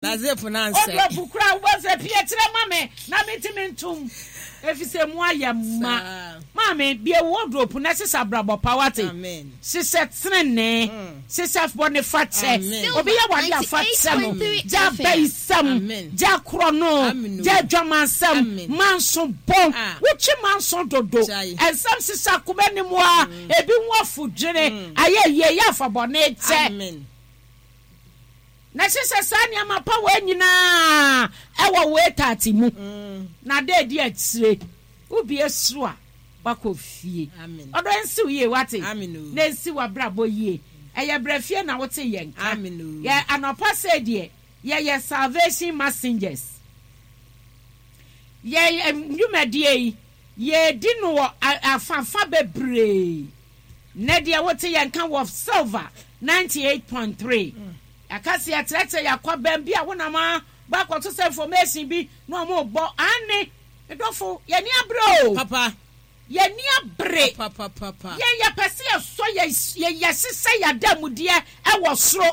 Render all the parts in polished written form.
Na zip no ansɛe. Wardrobe koraa wobɛhu sɛ pie kyerɛ ma me na mentumi ntom efisɛ mu ayɛ ma. Maame, bue wo wardrobe na hyehyɛ abrabɔ pa wate. Hyehyɛ tenenee, hyehyɛ bɔne fakyɛ. Obi yɛ wo ade a fa kyɛ no. Gya abayisɛm, gya korɔno, gya adwamansɛm, manso bɔ. Wotwe manso dodo. Nsɛm hyehyɛ akoma anim a ebi ho afodwene. Ayɛ yie yɛ afa bɔne kyɛ. Na hyehyɛ saa nneɛma pa wei nyinaa wɔ wo etaate mu, na da adi akyire wobue soro a, woakɔ fie. Ɔdɔ nsi wo yie, woate? Na ɛnsi w'abrabɔ yie. Ɛyɛ berɛ fie na wote yɛn nka. Yɛ anɔpa sei deɛ, yɛyɛ Salvation Messengers. Yɛn dwumadie yi, yɛredi no wɔ afafa bebree. Nnɛ deɛ wote yɛn nka wɔ Silver 98.3. Yɛaka sɛ yɛkyerɛkyerɛ yɛn akwabɛn bi a wonam a bɔ akɔto sɛ information bi na wɔn rebɔ. Aane, me dɔfo, yɛn ani abere o. Papa. Yɛn ani abere. Papa, papa. Yɛn yɛpɛ sɛ yɛsɔ yɛ yɛ yɛhyehyɛ yɛn adanmudeɛ wɔ soro.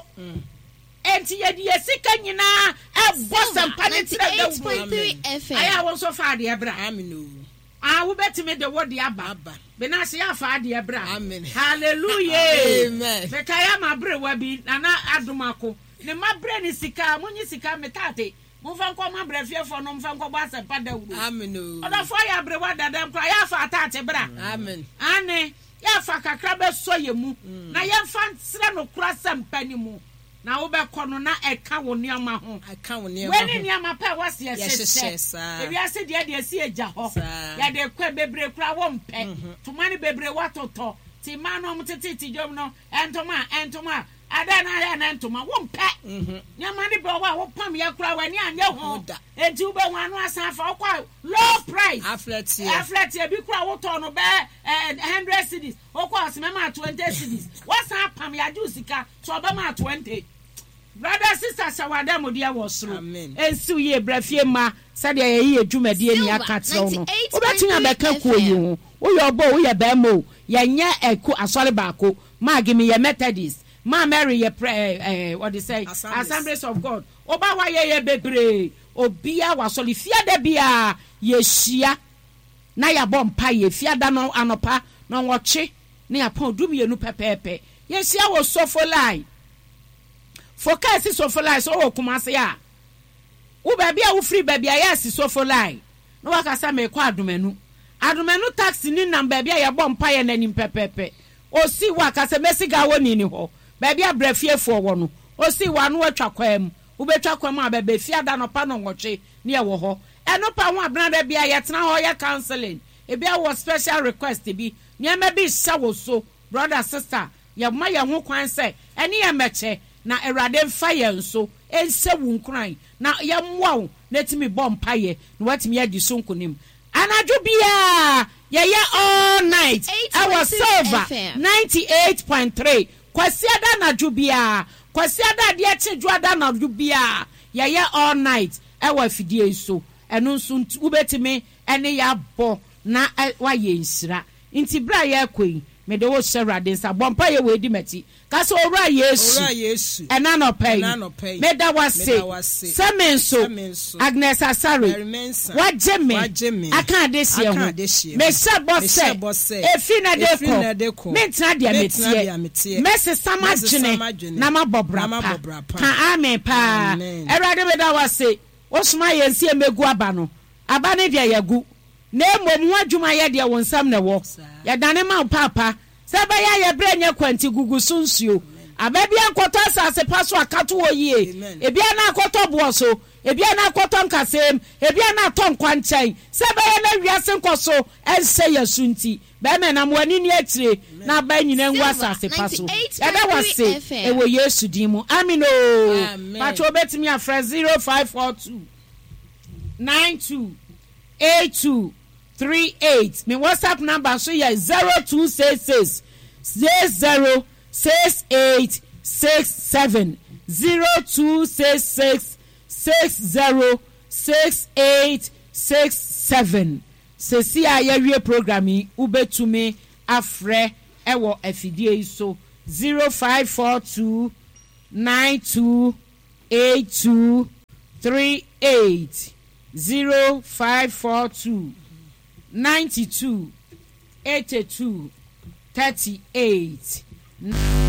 Enti yɛde yɛn sika nyinaa ɛbɔ sɛmpa ne Silver kyerɛ dawuro. 98.3 FM. Ayɛ a wo nso fa adeɛ bra. Amen o. Ah wobɛtumi de wo deɛ aba. Aba. Benase yɛ afa adeɛ bra. Amen. Hallelujah. Amen. Mekae ama aberewa bi, Nana Adomako. Ne mma brɛ ne sika, monyi sika me taate, momfa nkɔ ma brɛfiefoɔ no mfa nkɔbɔ asɛmpa dawuro. Amen o. Ɔdɔfoɔ yɛ aberewa dada koraa, yɛ afa ataate bra. Amen. Aane, yɛ afa kakra bɛsɔ yɛ mu, na yɛmfa nkyerɛ nokorɛ asɛmpa no mu. Na wobɛkɔ no na ɛka wo nneɛma ho. Ɛka wo nneɛma Wei ne ho. nneɛma pa a ɛwɔ sɛ yɛhyehyɛ. Yɛhyehyɛ, saa. Ewiase deɛ deɛ ɛsi agya hɔ. Saa. Yɛde kɔ bebree koraa wompɛ. Ntoma no bebree woatotɔ. Nti mmaa no a wɔtetete dwam no, ntoma, ntoma, adɛn na ayɛ na ntoma wompɛ. Nneɛma no bi wɔ hɔ a wopamyɛ koraa w'ani annye ho. Ho da. Enti wobɛhu ano asan afa. Wokɔ a low price. Aflɛteɛ. Aflɛteɛ bi koraa wotɔɔ no bɛyɛ 100 cedis. Wokɔ a ɔse mɛma 20 cedis. Woasan apam, yɛagye wo sika. So ɔbɛma 20. Brother sister hyɛ w'adamudeɛ wɔ soro. Ɛnsiw yie bra fie mma sɛdeɛ yɛyi yɛ dwumadie ni aka kyerɛ wo no. Wobɛtumi abɛka kuo yi ho. Woyɛ ɔbɔ o, woyɛ barima o, yɛnyɛ ɛku asɔre baako. Maggie meyɛ Methodist, Ma Mary yɛ prɛ ɛɛ wɔde sɛn? Assemblies of God. Woba hɔ a yɛyɛ bebree. Obiara wɔ asɔre. Fiada biara yɛhyia na yɛabɔ mpaeɛ. Fiada no anɔpa nɔnwɔtwe ne apɔn 12 pɛpɛɛpɛ. Yɛhyia wɔ Sofolai. Fokaa si Sofolai sɛ wowɔ Kumase a, wo baabi a wofiri baabi a yɛasi Sofolai na waka sɛ merekɔ Adomanu. Adomanu taxi ni nam baabi a yɛbɔ mpaeɛ no anim pɛpɛɛpɛ. Ɔsi hɔ a ka sɛ mɛsi Gawoni ni hɔ, baabi a Brɛfiefoɔ wɔ no. Ɔsi hɔ a na watwa kwan mu. Wobɛtwa kwan mu a bɛba efie ada anɔpa nnɔnwɔtwe ne yɛwɔ hɔ. Ɛno pa ho a Benada biara yɛtena hɔ yɛ counseling. Ebia wowɔ special request bi, nneɛma bi rehyɛ wo so, brother, sister, yɛma yɛn ho kwan sɛ ɛne yɛn mmɛkyɛ, na Awurade mfa yɛn so nhyɛ wo nkuran, na yɛmmoa wo na tumi bɔ mpaeɛ na woatumi adi so nkonim. Anadwo biara yɛyɛ all night ɛwɔ Silver 98.3, Kwasiada anadwo biara, Kwasiada adeɛ kye Dwoada anadwo biara yɛyɛ all night ɛwɔ afidie yi so, ɛno nso wobɛtumi ɛne yɛ abɔ na woayɛ nhyira. Nti berɛ a yɛrekɔ yi, mede wo rehyɛ Awurade nsa. Bɔ mpaeɛ wei di m'akyi. Ka sɛ, Owura Yesu, Owura Yesu, ɛnnɛ anɔpa yi, ɛnnɛ anɔpa yi, meda wo ase meda wo ase sɛ me nso, sɛ me nso, Agnes Asare, Mary Mensah, woagye me woagye me aka adehyeɛ aka ho. adehyeɛ ho. Mehyɛ bɔ Mehyɛ sɛ, bɔ sɛ, ɛfiri nnɛ de ɛfiri rekɔ, nnɛ de rekɔ, mentena deɛ mentena meteɛ. deɛ meteɛ. Mɛsesa Mɛsesa m'adwene m'adwene na mabɔ bra na mabɔ pa. bra pa. Ka amen paa. Amen. Awurade meda wo ase. Wosomaa yɛn sɛ yɛmmɛgu aba no. Aba no deɛ yɛagu, na mmom ho adwuma yɛ deɛ wo nsam na ɛwɔ. Yɛdane ma wo paapa, sɛ ɛbɛyɛ a yɛn berɛ nyɛ kwa nti, gugu so nsuo. Aba biara nkɔtɔ asase pa so a, ka to hɔ yie. Ebia na akɔtɔ boɔ so, ebia na akɔtɔ nkasɛɛ mu, ebia na atɔ nkwankyɛn. Sɛ ɛbɛyɛ na wiase nkɔso nhyɛ yɛn so nti, bɛrima nam w'ani nni akyire na aba nyinaa ngu Silver asase pa so. Yɛda wo 98.3 ase FM. wɔ Yesu din mu. Amen oo. Amen. Pakyɛ wobɛtumi afrɛ 0542 92 82 38. Me WhatsApp number nso yɛ 0266 60 68 67 0266 60 68 67. Sɛsi a yɛawie program yi, wobɛtumi afrɛ wɔ afidie yi so 0542 92 82. 38 0542 92 82 38.